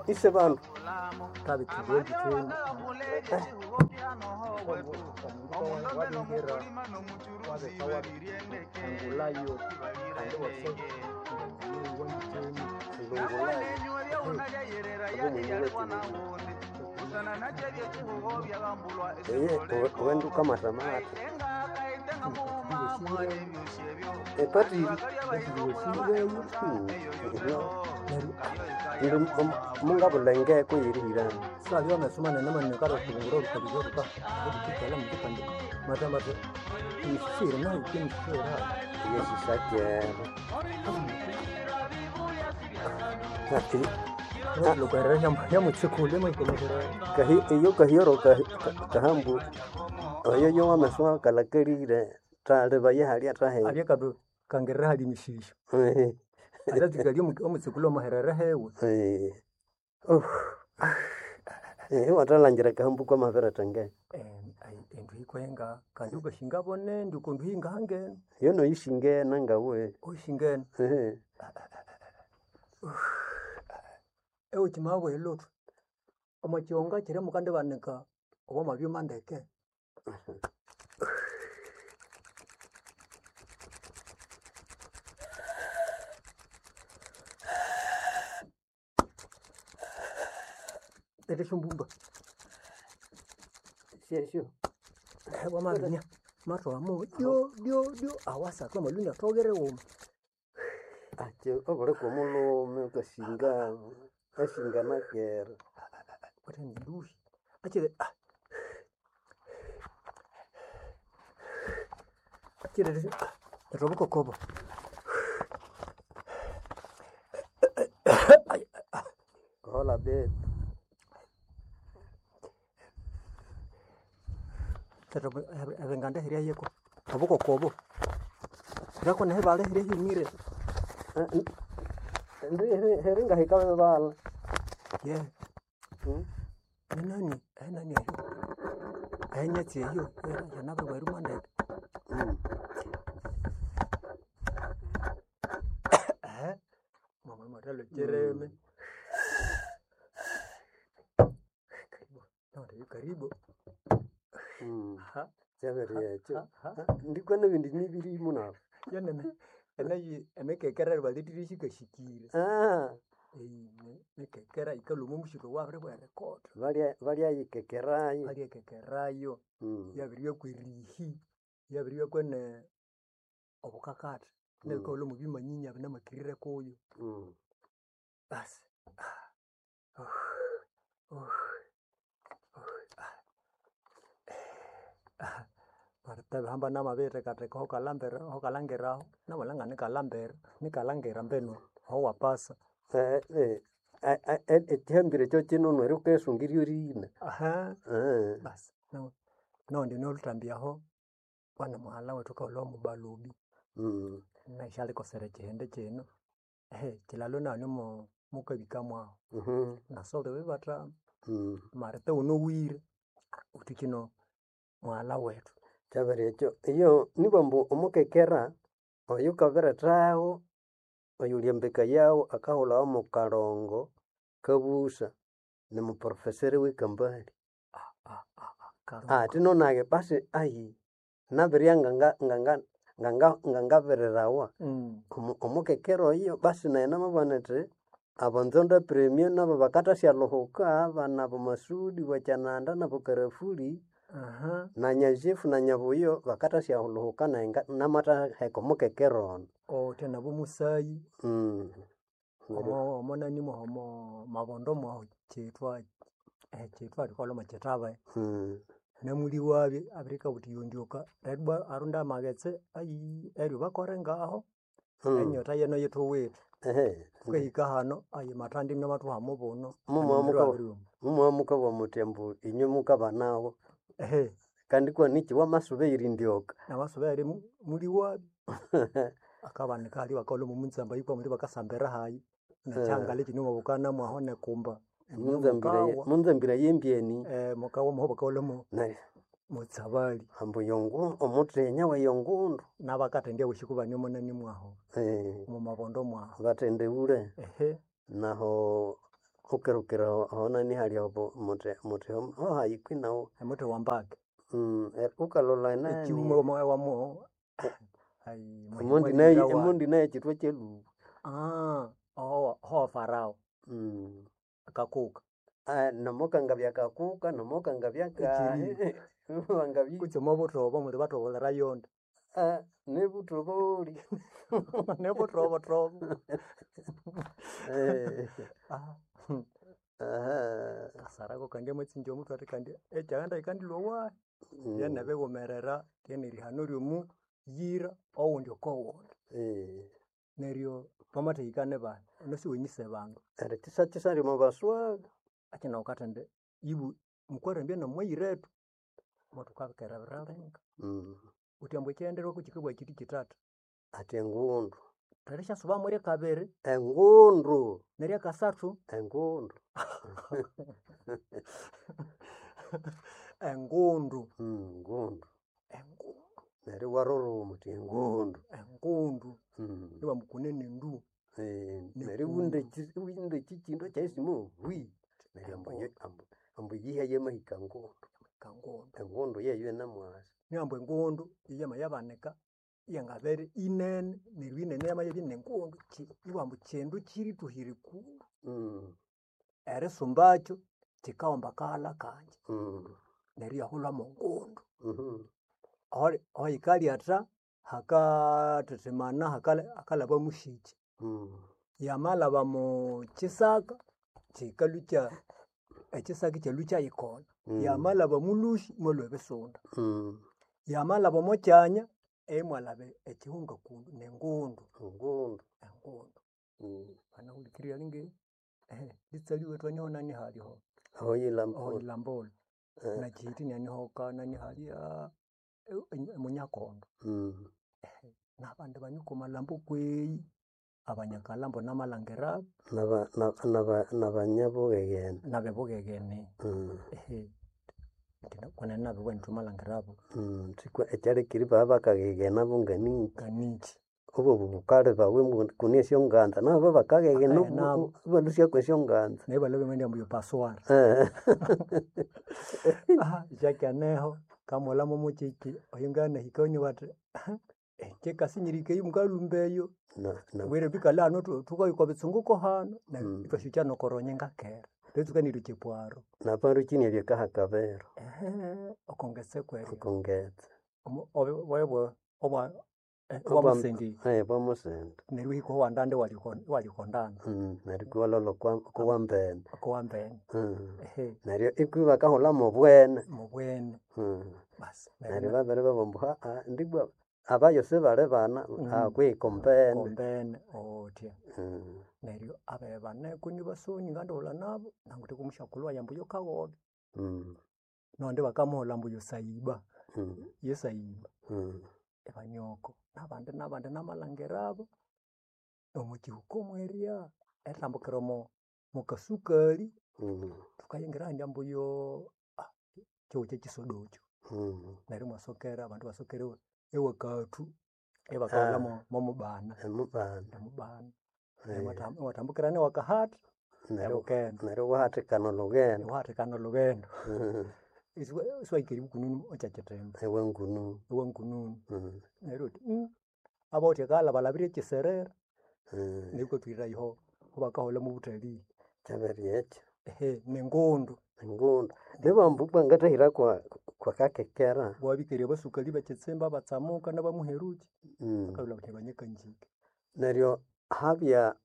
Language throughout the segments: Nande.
Ise bandu eye uwende ukamathamata epatiri mungabulha engeko yerihirana. Savya wamesoma nene manene karotubungura olukabirya oluka olukikala mukipande mata mata emisisire nayo kemisisire Yesisakera lokerera yamutsikule maikolokera. Iyo kahioro kahambu oyo yo wamaswa kalakalire thaliba yehalya thahe. Avya kadu kangerera hali emisisyo atatsikali omutsikule omuherere hewe. Iwathalangira kahambu kwamabiretha engeko. Endu yikwenga kandi ukashinga bonene okondu hingahangene. Iyo noyisingene ngawe. Oyisingene. Ewukimabwa elothu omo kihonga kiri mukandibanika obwamabyuma ndeke. Leta esyombumba. Syesyo. Wamaminya mathwamo dyo dyo dyo awasathu amaluni athoghere wuma. Akyi obuli kwomulhume wukasinga asinga nakera. Wuthe ninduhi akyire akyire leta obukokobo. Hola babe. Leta ebinganda hirya yeko obukokobo hirako nehibale hirya hyumire. Heringahika bibala. Ye enani enani eyo enyatsi eyo yanabiribwa erimwa ndeke. Mama mathalha kyireme. Karibu karibu. Kyabiriekyo ndikwa nebindi nibirimu nabo. Yanene enayi emikekera balethire shikashikire. Emikekera yikalhwa omo mushikwa owabiribwa erikotha. Balyayikekerayo. Balyayikekerayo yabiribya kwerihi yabiribya kwene obukakatha neryo wukaghulha omwabimanyinyi binamakirire kuyo. Basi bihamba namabirithekatheka aho wukalhangiraho namalhangira nikalhambere nikalhangira mbinu aho wapasa. Ekyihambiro ekyo kyinunu neryo wukayisungira erina. Basi noghundi noluthambi aho wana mughalha wethu wukaghulha omubalubi nayu syalikosera ekyihindi kyino kyilalo nahanu mukabika mwahu nasoli bibathama marite wunowire wuthi kyino mughalha wethu. Kyabiriekyo iyo nibambu omukekera oyukabirethago oyuli embeka yawu akahulhawa mukalongo kabusa nimuprofessor wekambali. Athi nunage basi ayi nabirya ngangabirirawa omukekera oyo basi nayi namabugha inithi abonzondo premier nabo bakathasyalhuhuka abana abo Masudi bokyananda nabo Karafuli na Nyanjifu na Nyabuyo bakathasyalhuhuka nayi namathaheka omukekera ono. Owuthe nabo musayi omo nani mwahu omo mabondo mwahu kyithwa kyithwa thukaghulha mwakyithabe namuliwabye abirikabugha wuthi yondyoka neryo ibwa arunde amaghetse ayiii neryo bakore ngaho enyota yeno yithuwithe. Thukahika hano ayi mathanda inamathuha mubuno. Mumwamukabugha muthi ambu inywe mukabanawo kandi ikuwanikyi wamasuba eyirindyoka. Namasuba eyiri muliwabya akabanika halya ibakaghulha mwomutsamba kwamuli bakasambira hayi nekyihangala ekyine mwahu nekumba. Munzambira yembyeni. Mukawa mwahu bakaghulha motsabali. Ambu omuthenya weyongundu. Nabakathendya abosi kubane omonani mwahu omomabondo mwahu. Bathendeghule. Naho ukirukira honani hali obo muti muti hohayi kwinawo Omuthi wambaki. Ukalolha enani Ekighuma wamu ayi emondi nayo emondi nayo ekithwa kyelubu. Oho Farao. Kakuka. Namukangabya kakuka namukangabya kahi wangabya Kutse omwabuthobo muli bathobolera yonde. Nibuthoboli. Nibuthobothobo. Kasarako kandi amatsinja omuthwe athi kandi ekyaghenda yikandilhwa wahi. Byenebighumerera ryenerihano ryomuyira owundi oko wundi. Neryo twamathahika nibahi? Wunasi wenyise bandu. Neryo kyisyakyisali omo baswaga. Akina wukathindi ibu mukwarambya nomwayiretu mothukabikera linga. Wuthi ambu ekighendererwako kikabugha kyithi kyithatha. Athi engundu. Erisyasubamo ryakabiri. Engundu. Neryakasathu. Engundu. Engundu. Ngundu. Engundu. Neryo iwaruruma wuthi engundu. Engundu. Ibabughambu kunene ndu. Neryo iwinda ekyikindu ekyayisimo hwi. Neryo ambu eyiha yamahika ngundu. Ngundu. Engundu yeyo yinamwasa. Nibughambu engundu yamayabanika iyangabere inene neryo inene yamayabya nengundu ibughambu kyindu kyirithuhira ekundu. Erisumbakyo kyikahomba akaghalha kangye. Neryo iyahulha mongundu. Ahoyikalyatha hakathethemana hakalhaba mushikyi. Yamalhaba mukyisaka kyikalhwa ekyisaka ikyalhwa ikyayikolha. Yamalhaba omulhusi imwalhwa ebisunda. Yamalhaba omo kyanya imwalhaba ekyihunga kundu nengundu. Engundu. Engundu. Wanahulikirira alinge litsali wethu aniho nani haliho? Ahoyilambula. Ahoyilambula. Nakyihiti inaniho kanani halya emunyakondo. Nabandi banika omalhambo kweyi abanyakalhambo namalhangirabu. Nabanyabughegene. Nabebughegene. Kwenene nabibugha indi thumalhangirabu. Ekyalekire ibabya bonganikyi. Nganikyi. Obobu bukali bawe kune esyonganza nabo bakaghegena ibalhusya kwesyonganza. Neryo ibalhabya bamaghenda ambu paswara. Jackie aneho ngamughulha mwomukyekyi oyunganahika bathi kyikasinyirika eyo mukalhumba eyo. Mbwire thwikalhe hano thukaya okwa bitsunguko hano neryo ithwasyukya nokoronye ngakera. Eritsuka neryo chepwaro. Naparukyini ebyakahakabero. Okongetse kweryo. Okongetse. Obwamusendi. Obwamusende. Neryo iwahika owandandi iwalikondana. Neryo iwalholha okowambene. Okowambene. Neryo ikwi bakahulha mobwene. Mobwene. Basi. Neryo babiribabugha ambu ndibwa abayo sibali bana kwihi kombene. Kombene othya. Neryo abeyo baneko nibasoni ngandighulha nabo nanguthe kwomusyakulhu wayi ambu yokaghobya. Nondi bakamughulha ambu yosaiba. Yesaiba. Ibanioko. Nabandi nabandi namalhangirabo omwakihuka mwerya erithambukira omo mokasukali thukayingira ahandi ambu yoo kyihugho kyekisodo ekyo. Neryo imwasokera abandu ibasokera ewakathu ibakahulha momubana. Emubana. Emubana. Iwathambukira newakahatha ebukendo. Neryo iwahathikana olhughendo. Iwahathikana olhughendo. Isiwahika eribya ekyakitimba. Ewangununu. Ewangununu. Neryo iwabugha wuthi abawithe akaghalha balhabire ekiserera. Neryo iwukathwira iho bakahulha mobuthalii. Kyabiriyekyo. Nengundu. Engundu. Nibambu bwangathahira kwa kwakakekera. Iwabikerya abasukali bekyitsimba abatsamuka nabamuherukyi bakabulha bathi banyakanjike. Neryo habya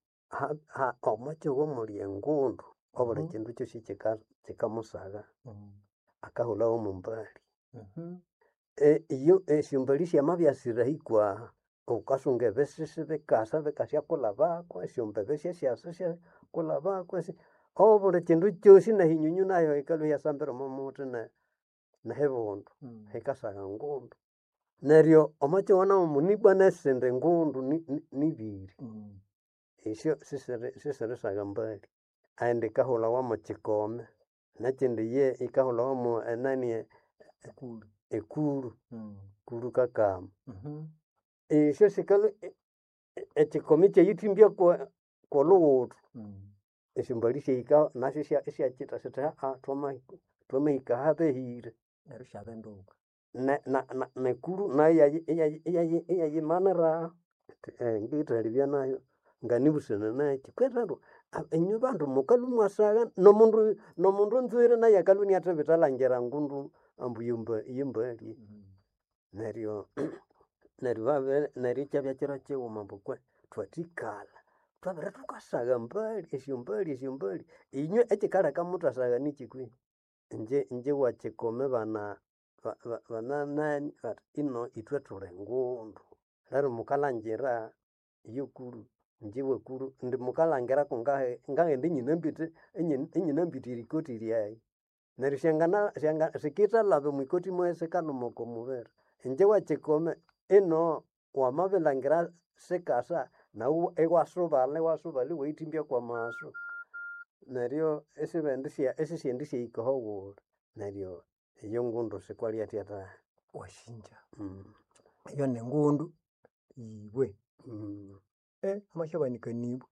omwakyihugho omuli engundu obuli kyindu kyosi kyikamusagha akahulhawo mwombali. Iyo esyombali syamabya sirahi kwaha wukasunga ebisisi bikasa bikasyakulhabako esyombebe syasyasa isyakulhabako obuli kyindu kyosi nehinyunyu nayo yikalhwa iyasambira omo muthi nehibundu hikasagha ngundu. Neryo omwakyihugho namu ibwa nesindi ngundu nibiri esyo sisirisagha mbali. Eyindi yikahulhawa mokyikome nekyindi iye yikahulhawa mo enani ekuru, kuru kakama. Esyo sikalhwa ekyikomi ikyayithimbya kwolhughuthu. Esyombali syahika nasyo isyakyita sithi twamahika ahabehire. Neryo isyabinduka. Nekuru nayo iyayimanira ngithalibya nayo nganibusana nakyi. Kwenene inywe bandu mukalhwa imwasagha nomundu nomundu nzwiri naye akalhwa iniathibitha alangira ngundu ambu yembali. Neryo neryo babere neryo ikyabya kiro kighuma ambu kwe thwathikalha thwabere thukasagha embali esyombali esyombali inywe ekyikaleka muthasagha nikyi kwehi? Ingye ingye wa Kikome bana bananani bathi ino ithwe thuli ngundu. Neryo mukalhangira yokuru ingye wakuru indi mukalhangira kungahi ngaghenda inyinambite inyinambite erikoti lyaghe. Neryo syangana syanga sikithalhaba omwikoti mwayi sikalhuma oko mubiri. Ingye wa Kikome ino wamabilhangira sikasa naghu iwasubalha iwasubalha iwayithimbya kwamasu. Neryo isibendisya isisyendisyahika ahawuli. Neryo eyo ngundu sikwalyathya tahi. Wasinja. Eyo ningundu yibwe. Amasyabanikaniwa.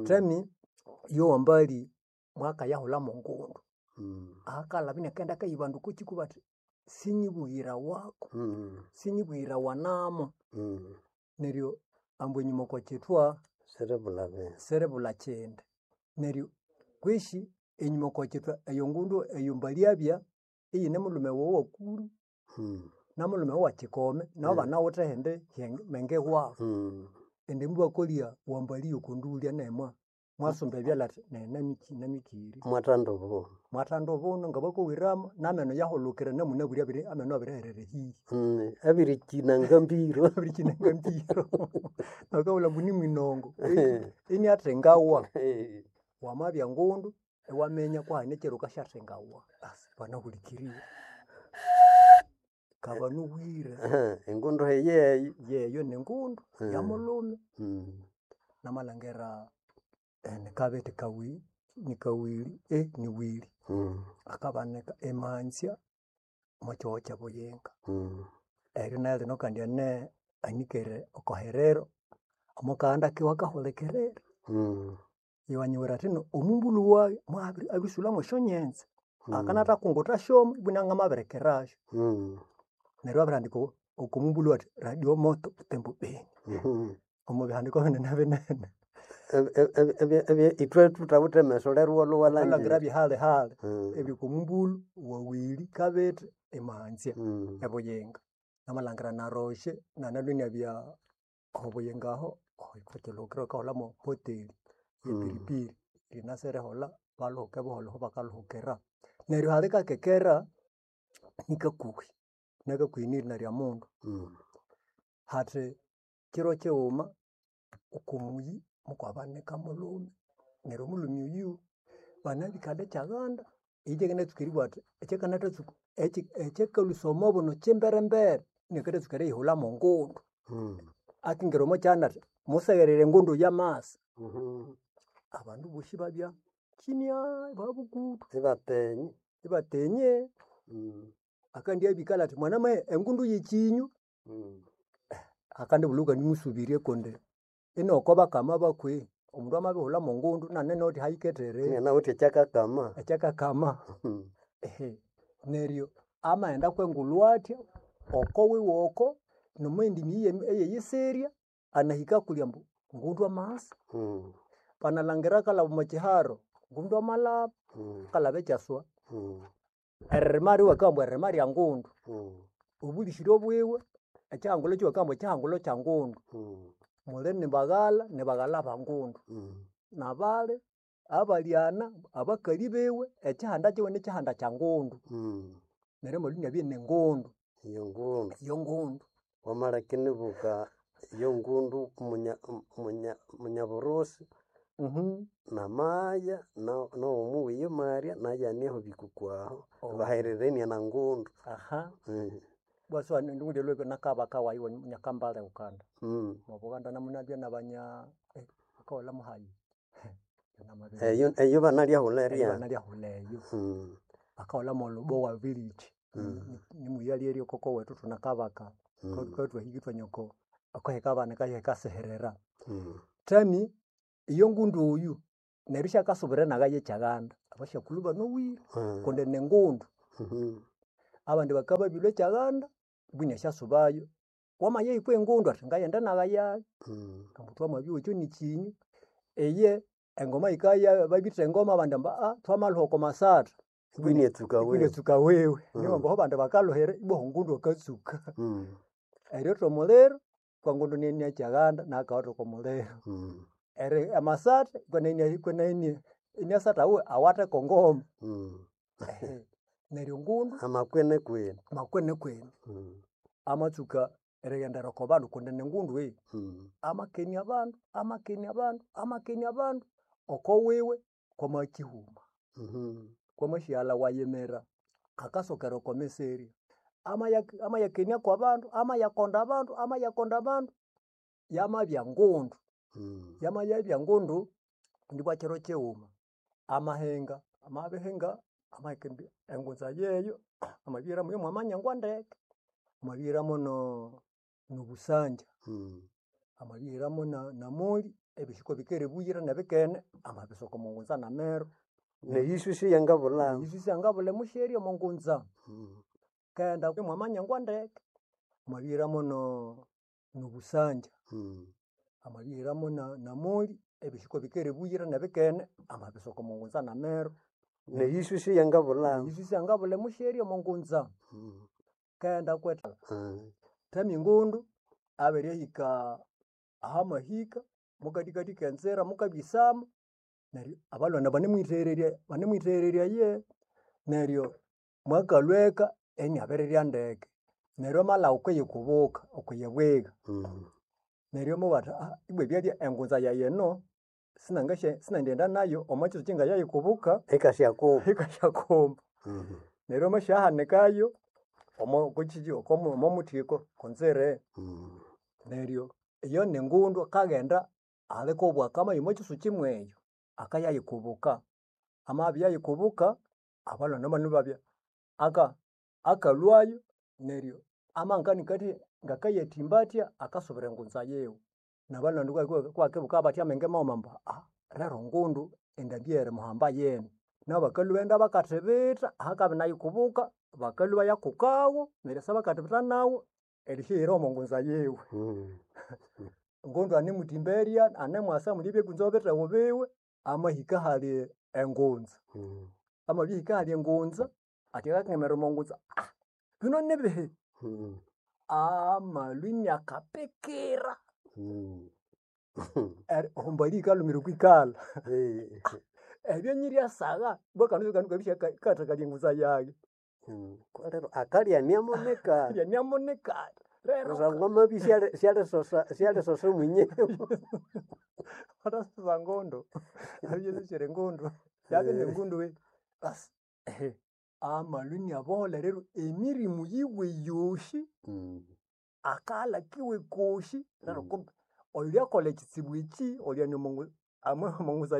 Thami yowambali mwakayahulha mongundu. Akalhabya inakaghenda akayiba bandu okwakyiko bathi sinyibughirawaku, sinyibughirawanamo. Neryo ambu enyuma okwakyithwa Siribulha bindu. siribulha kyindi. Neryo kwishi enyuma okwakyithwa eyo ngundu eyo mbali abya iyine mulhume wawu owakuru namulhume wawu owa Kikome nabo banawithe ehindi menge wabu. Indi mubakolya wambali yokondulya naye mwasumba ebyalha athi nayi namikere. Mwathandobo. Mwathandubunu ngabakowiramo nameno yahulukire namunabwire abiri ameno abiriherera ehihi. Abirikyina ngambiro. Abirikyina ngambiro. Bakabulha ambu nimwinongo iniathengawa. Wamabya ngundu iwaminya kuhali ekyiro wukasyathengawa. Basi banahulikirire. Kabanuwire. Engundu eyeyo. Yeyo ningundu yamulhume. Namalhangira nikabiti kawiri nikawiri niwiri akabanika emanzya omwakyihugho kye Buyinga. Eryo nayo lino kandi ene anikere okoherero omokaghanda kiwe akahulikirira. Iwanyiwira athino omumbulho wayi mwabiri abirisulha mwesyonyenze. Akanathakunguthasyomo ibwa inangamabirikirasyo. Neryo abirihandika okomumbulho athi radio moto Butembo Beni. Omubihandiko binene binene. Ithwe thuthawithe emeso lero iwalhwa Wukalhangira iwalhangira. byehali hali ebiri okomumbulho wawili kabiti emanzya ebuyinga. Namalhangira Naroshe nanalwe inabya obuyinga aho okwakyilhukiro bakaholha mohoteli yepiripiri yinasi eriholha balhuhuke buholho aho bakalhuhukira. Neryo hali kakekera nikakuhi, nakakuhi nirina rya mundu. Hathi kiro kighuma okomuyi mukwabanika mulhume neryo omulhume oyu banabikala ekyaghanda ekyakanatsuka eribugha athi ekyakanathatsuka ekyakalhwisa omobuno kyimberembere iniakathatsuka eriyihulha mongundu. Akingira omwakyanda athi musegherere engundu yamasa. Abandu bosi ibabya kimya ibabukutu. Ibatenye. Ibatenye. Akandyabikala athi mwanamahe engundu yekyinyu. Akandibulha wukandimusubirye kundi inoko bakama bakwe. Omundu amabihulha mongundu inanawithe ahayikethere. Inanawithe ekyakakama. Ekyakakama. Neryo amaghenda kwengulhu athya oko wiwe oko nomweyindi miyi eyeyisirya anahika kulya ambu ngundu amasa. Banalhangira akalhaba omwakyiharo ngundu amalhaba, akalhaba ekyaswa. Eririma ryiwe bakabugha ambu eririma rya ngundu. Obulisiryo bwiwe ekyihangulo kyiwe bakabugha ambu ekyihangulo kya ngundu. Muli nibaghalha nibaghalha ba ngundu. Nabali abalyana abakali biwe ekyihanda kyiwe nikyihanda kya ngundu. Neryo amabya inabya iningundu. Iyo ngundu. Iyo ngundu. Wamaleka inibuka iyo ngundu munyaburusi namaya nowomuwiyo Maria naye aneho bikuku aho bahererenie na ngundu. Bwasi nakabaka wayi nyakambale Uganda. Omwa Buganda namunabya nabanya bakaghulha muhayi Eyo eyo banalyahulha eyo erya. banalyahulha eyo. Bakaghulha molubowa village. Nimuyalya koko wethu thunakabaka. Thukabya ithwahika ithwanywa akahekabanika ahikasiherera. Thami iyo ngundu oyu. Neryo isyakasubira enaga y'ekyaganda. Abasyakulhu banowire kundi ningundu. Abandi bakabya ekyaganda ibwa inasyasubayo. Wamayahikwa engundu athi ngaghenda enaga yayi. Ambu thwamabyowa ekyo nikinywa. Iye engoma yikaya babitha engoma abandi ambu thwamaluha oko masatha. Ibwa iniatsuka Ibwa wewe. iniatsuka wewe. Nibo ambu aho abandi bakaluhira ibwa aho ngundu akatsuka. Eriotha omuliro kwa ngundu iniania kyaganda nakawatha oko muliro. Amasatha iniasatha awe awathe ko ngoma. Neryo ngundu Amakwene kwene. makwene kwene. Amatsuka erighendera oko bandu kundi ningundu. Amakenia abandu, amakenia abandu, amakenia abandu oko wiwe kwamakyihuma. Kwamasyighalla wayimira akasokera oko miserya. Amayakenia kwabandu, amayakonda abandu, amayakonda abandu, yamabya ngundu. Yamayabya ngundu, ndibwa kiro kighuma amahinga, amabihinga amaheka engunza yeyo amabihira mwamanyangwa ndeke, amabihiramo nobusanja, amabihiramo namoli, ebyosi kobikere buyira nebikene, amabisuka omo ngunza nameru. Neyiswi siyangabulha. Eyiswi siyangabulha emusyeri omo ngunza. Kaghenda mwamanyangwa ndeke, amabihiramo nobusanja, amabihiramo namoli, ebyosi kobikere buyira nebikene, amabisuka omo ngunza nameru. Neyiswi siyangabulha. Eyiswi siyangabulha emusyeri omo ngunza. Kaghenda kwetha thamya engundu abirihika ahamahika mukathikathi kenzira mukabya isama neryo abalhwana banemwithererya banemwithererya aye neryo mwakalhwa eka iniabirirya ndeke. Neryo amalhagha okwiyikubuka okwiyibwigha. Neryo amabugha athi ibwa ebyalya engunza yayi eno sinangaghenda nayo omwa kyitsukyi ngayayikubuka Ikasyakumba. ikasyakumba. Neryo amasyahanikayo omo kukyikyi omo muthiko okonzire. Neryo iyo ningundu akaghenda alikobwaka amaya omo kyisukyi mweyo, akayayikubuka. Amabya yayikubuka, abalhwana mono babya akalhwayo neryo amanganika athi ngakayathimba athya akasubira engunza yiwe. Nabalhwana kubakibuka bathi amenge maghuma ambu lero ngundu endambi eyerimuhamba yino. Nabo bakalhwa ibaghenda bakathibitha ahakabya inayikubuka, bakalhwa ibayakukawo neryo isibakathibitha nawo erisyaghira omo ngunza yiwe. Ngundu anemuthimberya, anemwasa mulibye kunza bithewu biwe, amahika ahali engunza. Amabihika ahali engunza, athi akakangira omo ngunza, bino nibihi? Amalwa iniakapikira. Oho mbali yikalhumira okwikalha. Ebyo nyiryasagha ibwa akandi kandu kabisya ikathakalya engunza yayi. Lero akalya iniamunika. Akalya iniamunika. Lero Kusangwa amabya isyalisosa isyalisosa mwenyewe. Athasusa ngundu, abya asusyire ngundu, yabya ningundu basi amalwa iniaboholha rero emirimu yiwe yosi, akaghalha kiwe kosi neryo kumbe oyulyakolha ekitsibu eki olyane omo ngunza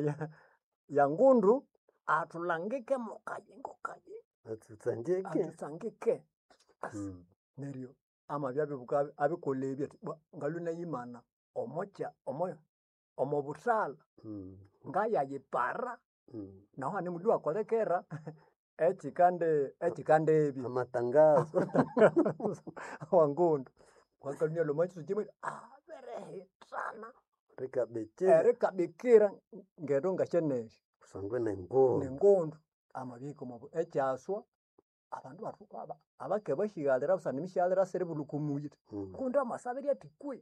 ya ngundu athulangike mo kayingo kayingo. Atsutsangike. Athutsangike. Basi neryo amabya abibuka abikolha ebyo athi bwa ngalwe inayimana omokya omo buthalha ngayayipara nahu hane mundu wakolekera ekyikandi ekyikandibya. Amatangazo. Awa ngundu. Wakalhwa inalhwa omo kyitsukyi abirihithana Rikabikira. erikabikira ngendo ngasyanesya. Kusangwa ningundu. Ningundu. Amabihika omo ekyaswa abandu abake basyighalira busana emisighalira siribulha oko muyi. Ngundu amasa abirya athi kwe.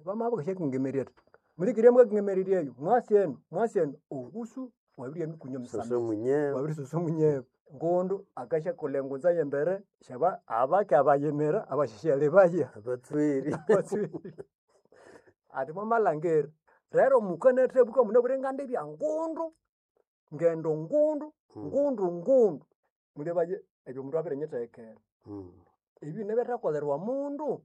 Bamabya bakasyakangamererya athi mulikirye mukakangamererya eyo mwasi enu mwasi enu obusu wabirya mikunya Soso mwenyewe. Wabirisusa munyewe. Ngundu akasyakolha engunza yembere syaba abake abayimira abasyasyalebaya. Abatsweri. Abatsweri. Athi mwamalhangira rero mukanathabuka munabwire ngandibya ngundu, ngendo ngundu, ngundu ngundu. Mulebaye ebyo omundu abirinyithekera. Ebyo nibyathakolherwa mundu.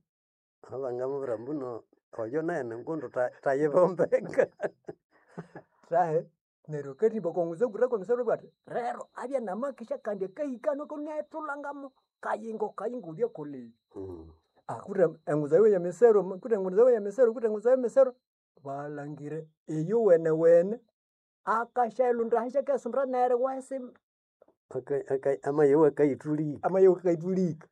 Abangamubwira mbuno oyo naye ningundu thayibombeka. Thahe neryo akathimba oko ngunza ngura kwemisoro athi rero abya namakesya kandi akahika nuko inayithulangamo kayingo kayingo wulyakolha ebi. Kutse engunza yiwe yemisero kutse engunza yiwe yemisero kutse engunza yemisero balhangire iyo wenewene. Akasyailundira ahisi akayisumbira neryo iwahisa Amayowa akayithulika. Amayowa akayithulika.